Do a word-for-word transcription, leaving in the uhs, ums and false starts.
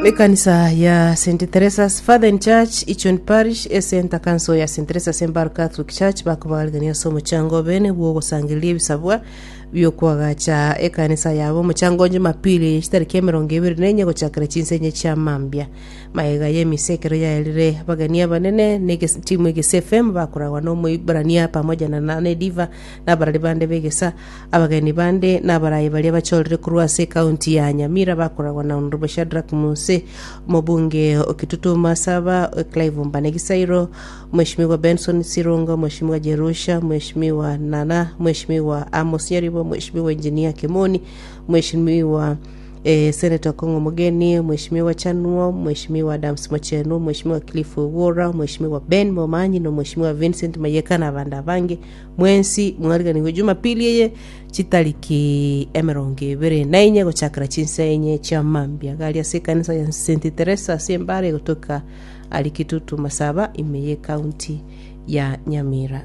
Ekanisa ya St Teresa's Father Church Ichon Parish Center Council ya St Teresa's Embaro Catholic Church bakobagarigania ase omochango bene bwogosangereria ebisabwa biokwagacha ekanisa yabo. Omochango Jumapili chitariki emerongo ebere na enye gochakera chinsenye chia mambia maega ya emisa ekero yaerire. Abageni abanene na timu Egesa F M bakoragwa na omoibrania pamoja na Nane Diva na abarari bande begesa. Abageni bande na abarayi baria bachorire korwa ase ekaunti ya Nyamira bakoragwa na Honorable Shadrack Muse, omobunge Okitutu Masaba Clive Mbanegisairo, Mheshimiwa Benson Sirongo, Mheshimiwa Jerusha, Mheshimiwa Nana, Mheshimiwa Amos Nyaribo, Mheshimiwa Engineer Kimoni, Mheshimiwa eh, Senator Kongo Mugeni, Mheshimiwa Chanuo, Mheshimiwa Adams Mocheno, Mheshimiwa Cliff Owora, Mheshimiwa Ben Momanyi na Mheshimiwa Vincent Mayeka na abande abange. Mwensi mwariganigwe Jumapili eye chitariki emerongo ebere na enye gochakera chinsa enye chia mambia gari ase ekanisa ya St Teresa ase Embare gotoka ari Kitutu Masaba ime ye county ya Nyamira.